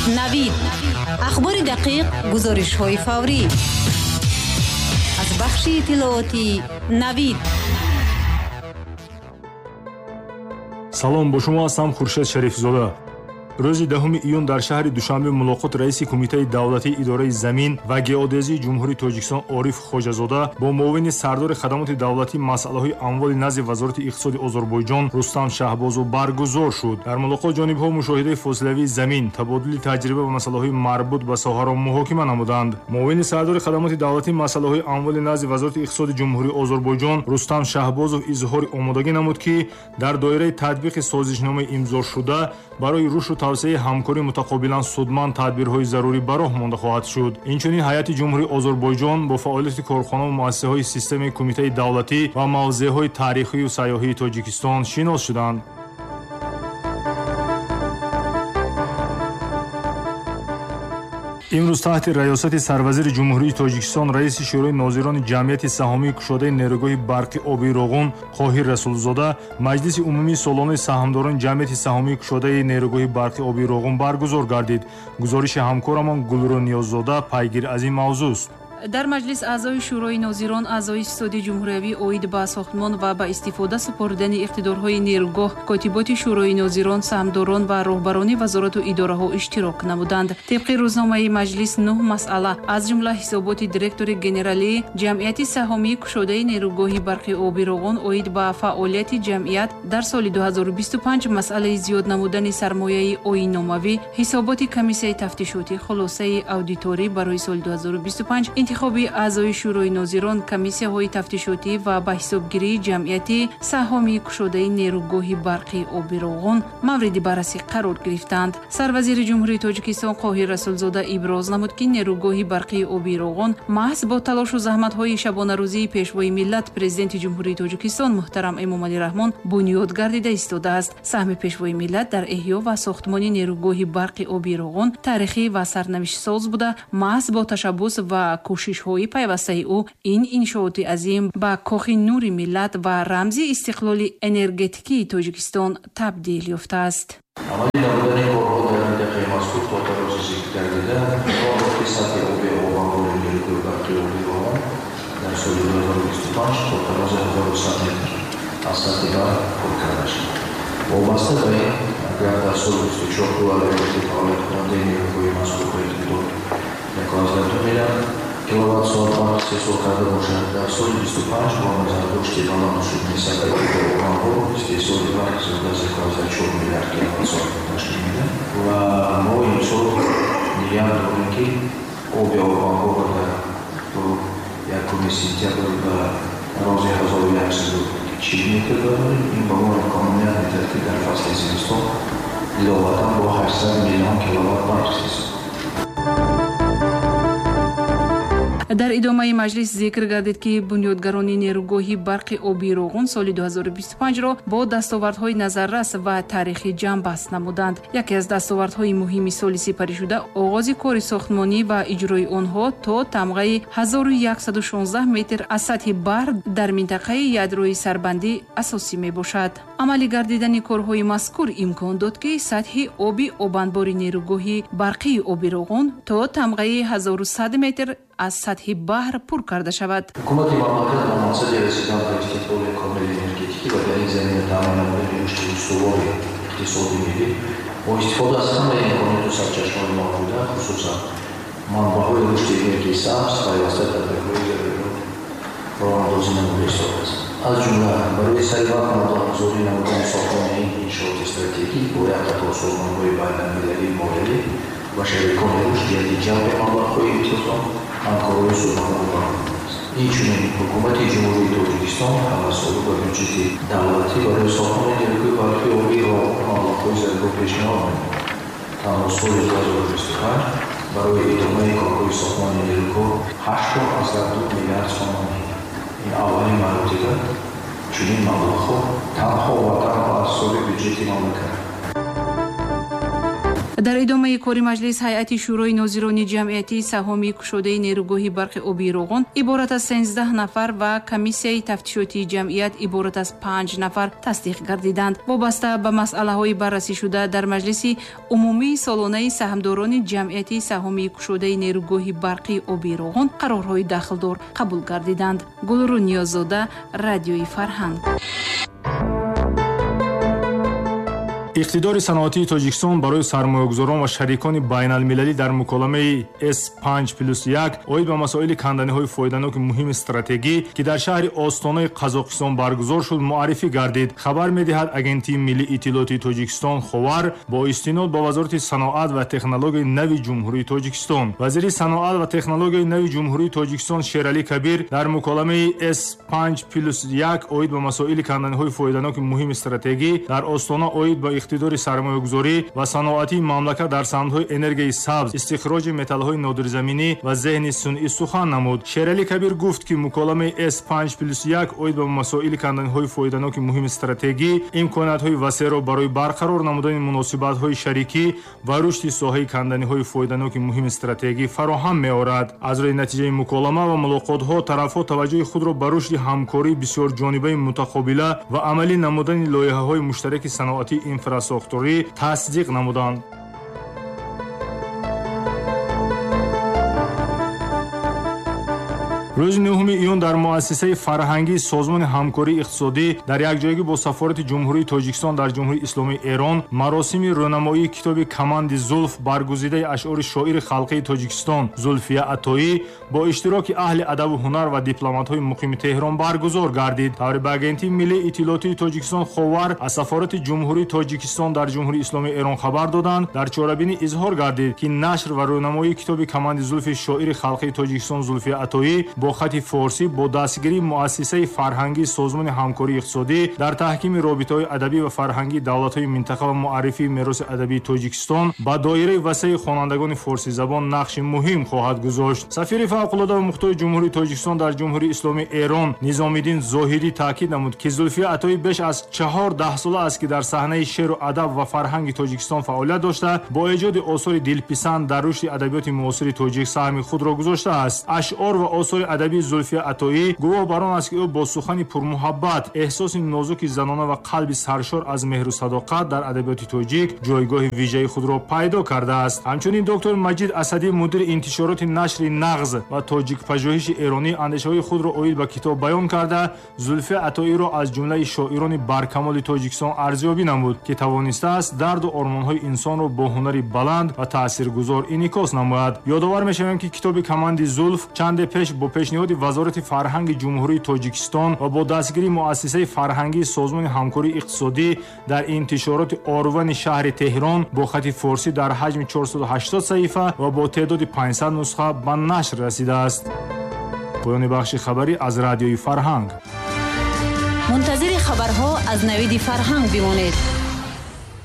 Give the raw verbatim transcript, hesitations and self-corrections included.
Навид. Ахбори дақиқ, гузоришҳои фаврӣ. Аз бахши иттилоотии Навид. Салом, бо шумо ҳастам Хуршед Шарифзода. Рӯзи даҳуми июн дар шаҳри Душанбе мулоқот раиси Кумитаи давлатии идораи замин ва геодезии Ҷумҳурии Тоҷикистон Ориф Хоҷазода бо муовини сардори хадамоти давлатии масъалаҳои амволи назди Вазорати иқтисоди Озарбойҷон Рустам Шаҳбозов баргузор шуд. Дар мулоқот ҷонибҳо мушоҳидаи фосилавии замин, табодули таҷриба ва масъалаҳои марбут ба соҳаро муҳокима намуданд. Муовини сардори хадамоти давлатии масъалаҳои амволи назди Вазорати иқтисоди Ҷумҳурии Озарбойҷон Рустам Шаҳбозов изҳори омодагӣ намуд, ки дар доираи татбиқи созишномаи имзошуда барои рушду тавсеаи ҳамкории мутақобилан судманд тадбирҳои зарурӣ ба роҳ монда хоҳад шуд. Инчунин ҳайати Ҷумҳурии Озарбойҷон бо фаъолияти корхонаву муассисаҳои системаи Кумитаи давлатӣ ва мавзеъҳои таърихию сайёҳии Тоҷикистон шинос шуданд. Имрӯз таҳти раёсати сарвазири Ҷумҳурии Тоҷикистон раиси Шӯрои нозирони ҷамъияти саҳомии кушодаи нерӯгоҳи барқи оби Роғун Қоҳир Расулзода маҷлиси умумии солонаи саҳмдорони ҷамъияти саҳомии кушодаи нерӯгоҳи барқи оби Роғун баргузор гардид. Гузориши ҳамкорамон Гулрӯ Ниёззода пайгир аз ин мавзӯст. Дар маҷлис аъзои Шӯрои нозирон, аъзои Ситоди ҷумҳуриявӣ оид ба сохтмон ва ба истифода супоридани иқтидорҳои нерӯгоҳ, котиботи Шӯрои нозирон, саҳмдорон ва роҳбарони вазорату идораҳо иштирок намуданд. Тибқи рӯзномаи маҷлис нӯҳ масъала, аз ҷумла ҳисоботи директори генералии ҷамъияти саҳомии кушодаи нерӯгоҳи барқи оби Роғун оид ба фаъолияти ҷамъият дар соли ду ҳазору бисту панҷ, масъалаи зиёд намудани сармояи оинномавӣ, ҳисоботи комиссияи тафтишотӣ, хулосаи аудиторӣ барои соли ду ҳазору бисту панҷ, интихоби аъзои Шӯрои нозирон, комиссияҳои тафтишотӣ ва ба ҳисобгирии ҷамъияти саҳомии кушодаи нерӯгоҳи барқи оби Роғун мавриди баррасӣ қарор гирифтанд. Сарвазири Ҷумҳурии Тоҷикистон Қоҳир Расулзода иброз намуд, ки нерӯгоҳи барқии оби Роғун маҳз бо талошу заҳматҳои шабонарӯзии Пешвои миллат, Президенти Ҷумҳурии Тоҷикистон муҳтарам Эмомалӣ Раҳмон бунёд гардида истодааст. Саҳми Пешвои миллат дар эҳё ва сохтмони нерӯгоҳи барқи оби Роғун таърихӣ ва сарнавиштсоз буда, маҳз бо ташаббус ва кӯшишҳои пайвастаи ӯ ин иншооти азим ба кохи нури миллат ва рамзи истиқлоли энергетикии Тоҷикистон табдил ёфтааст. Амалӣ намудани корҳо дар минтақаи мазкур то тарози зикр гардида ки сатҳи оби обанбори нерӯгоҳи барқи оби Роғун дар соли ду ҳазору бисту панҷ то тарози ҳазору сад метр аз сатҳи баҳр пур карда шуд. Вобаста ба ин, агар дар соли бисту чор ду агрегати фаъолияткунандаи нерӯгоҳи мазкур ба иқтидор яку аздаҳ ду миллиард киловатт соат барқ истеҳсол карда бошад, дар соли бисту панҷ бо назардошти баланд шудани сатҳи оби обанбор истеҳсоли барқ зиёда аз яку аздаҳ чор миллиард киловатт соат ташкил медиҳад ва мо имсол ният дорем, ки оби обанборро дар то якуми сентябр ба рози ҳазору яксаду чил метр барорем. Ин ба мо имконият медиҳад, ки дар фасли зимистон иловатан бо ҳаштсад миллион киловатт барқ истеҳсол. Дар идомаи маҷлис зикр гардид, ки бунёдгарони нерӯгоҳи барқи оби Роғун соли ду ҳазору бисту панҷро бо дастовардҳои назаррас ва таърихӣ ҷамъбаст намуданд. Яке аз дастовардҳои муҳими соли сипаришуда оғози кори сохтмонӣ ва иҷрои онҳо то тамғаи ҳазору яксаду шонздаҳ метр аз сатҳи баҳр дар минтақаи ядрои сарбандӣ асосӣ мебошад. Амалӣ гардидани корҳои мазкур имкон дод, ки сатҳи оби обанбори нерӯгоҳи барқии оби Роғун то тамғаи ҳазору сад метр аз сатҳи баҳр пур карда шавад. Ҳукумати мамлакат ба мақсади расидан ба истиқлоли комили энергетикӣ ва дар ин замина таъмин намудани рушди устувори иқтисоди миллӣ бо истифода аз ҳамаи имконоту сарчашмаҳои мавҷуда, хусусан манбаъҳои рушди энергияи сабз, пайваста тадбирҳои зарурӣ роҳандозӣ намуда истодааст. Аз ҷумла барои саривақт маблағгузорӣ намудани сохтмони ин иншооти стратегӣ бо як қатор созмонҳои байналмилалии молиявӣ ва шарикони рушд ҷиҳати ҷалби маблағҳои имтиёзнок ҳамкориҳои судманд баромадааст. Инчунин Ҳукумати Ҷумҳурии Тоҷикистон ҳамасола ба бюҷети давлатӣ барои сохтмони нерӯгоҳи барқи оби Роғун маблағҳои зарурӣ пешниҳод менамояд. Танҳо соли ду ҳазору бисту панҷ барои идомаи корҳои сохтмони нерӯгоҳ ҳашт аздаҳ ду миллиард сомонӣ. Ин аввалин маротиба чунин маблағҳо танҳо ва танҳо аз ҳисоби бюҷети мамлакат. Дар идомаи кори маҷлис ҳайати Шӯрои нозирони ҷамъияти саҳомии кушодаи нерӯгоҳи барқи обии Роғун иборат аз сенздаҳ нафар ва комиссияи тафтишотии ҷамъият иборат аз панҷ нафар тасдиқ гардиданд. Вобаста ба масъалаҳои баррасӣшуда дар маҷлиси умумии солонаи саҳмдорони ҷамъияти саҳомии кушодаи нерӯгоҳи барқи обии Роғун қарорҳои дахлдор қабул гардиданд. Гулру Ниёззода, Радиои Фарҳанг. Иқтидори саноатии Тоҷикистон барои сармоягузорон ва шарикони байналмилалӣ дар муколамаи С панҷ плюс як оид ба масоили канданиҳои фоиданоки муҳими стратегӣ, ки дар шаҳри Остонаи Қазоқистон баргузор шуд, муаррифӣ гардид. Хабар медиҳад Агентии миллии иттилоотии Тоҷикистон Ховар бо истинод ба Вазорати саноат ва технологияи нави Ҷумҳурии Тоҷикистон. Вазири саноат ва технологияи нави Ҷумҳурии Тоҷикистон Шералӣ Кабир дар муколамаи С панҷ плюс як оид ба масоили канданиҳои фоиданоки муҳими стратегӣ дар Остона оид ба иқтидори сармоягузорӣ ва саноатии мамлакат дар самтҳои энергияи сабз, истихроҷи металлҳои нодирзаминӣ ва зеҳни сунъӣ сухан намуд. Шералӣ Кабир гуфт, ки муколамаи С панҷ плюс як оид ба масоили канданиҳои фоиданоки муҳими стратегӣ имкониятҳои васеъро барои барқарор намудани муносибатҳои шарикӣ ва рушди соҳаи канданиҳои фоиданоки муҳими стратегӣ фароҳам меорад. Аз рӯи натиҷаи муколама ва мулоқотҳо тарафҳо таваҷҷӯҳи худро ба рушди ҳамкории бисёрҷонибаи мутақобила ва амалӣ намудани лоиҳаҳои муштараки саноатии инфрасохторӣ тасдиқ намуданд. Рӯзи нӯҳуми июн дар муассисаи фарҳангии Созмони ҳамкории иқтисодӣ дар якҷоягӣ бо Сафорати Ҷумҳурии Тоҷикистон дар Ҷумҳурии Исломии Эрон маросими рӯнамоии китоби Каманди Зулф баргузидаи ашъори шоири халқии Тоҷикистон Зулфия Атоӣ бо иштироки аҳли адабу ҳунар ва дипломатҳои муқими Теҳрон баргузор гардид. Таври ба Агентии миллии иттилоотии Тоҷикистон Ховар аз Сафорати Ҷумҳурии Тоҷикистон дар Ҷумҳурии Исломии Эрон хабар доданд, дар чорабинӣ изҳор гардид, ки нашр ва рӯнамоии китоби Каманди Зулфи шоири халқии Тоҷикистон Зулфия Атоӣ бо хати форсӣ бо дастгирии муассисаи фарҳангии Созмони ҳамкории иқтисодӣ дар таҳкими робитаҳои адабӣ ва фарҳангии давлатҳои минтақа ва муаррифии мероси адабии Тоҷикистон ба доираи васеи хонандагони форсизабон нақши муҳим хоҳад гузошт. Сафири фавқулода ва мухтори Ҷумҳурии Тоҷикистон дар Ҷумҳурии Исломии Эрон Низомиддин Зоҳидӣ таъкид намуд, ки Зулфия Атоӣ беш аз чаҳор даҳсола аст, ки дар саҳнаи шеъру адаб ва фарҳанги Тоҷикистон фаъолият дошта, бо эҷоди осори дилписанд дар рушди адабиёти муосири тоҷик саҳми худро гузоштааст. Ашъор ва осори адабии Зулфия Атоӣ гувоҳ бар он аст, ки ӯ бо сухани пурмуҳаббат, эҳсоси нозуки занона ва қалби саршор аз меҳру садоқат дар адабиёти тоҷик ҷойгоҳи вижаи худро пайдо кардааст. Ҳамчунин доктор Маҷид Асадӣ, мудири интишороти нашри Нағз ва тоҷикпажӯҳиши эронӣ, андешаҳои худро оид ба китоб баён карда, Зулфия Атоиро аз ҷумлаи шоирони баркамоли Тоҷикистон арзёбӣ намуд, ки тавонистааст дарду ормонҳои инсонро бо ҳунари баланд ва таъсиргузор инъикос намояд. Ёдовар мешавем, ки китоби Каманди Зулф чанде пеш бо пешниҳоди Вазорати фарҳанги Ҷумҳурии Тоҷикистон ва бо дастгирии муассисаи фарҳангии Созмони ҳамкории иқтисодӣ дар интишороти Орвани шаҳри Теҳрон бо хати форсӣ дар ҳаҷми чорсаду ҳаштод саҳифа ва бо теъдоди панҷсад нусха ба нашр расидааст. Поёни бахши хабарӣ аз Радиои Фарҳанг. Мунтазири хабарҳо аз Навиди Фарҳанг бимонед.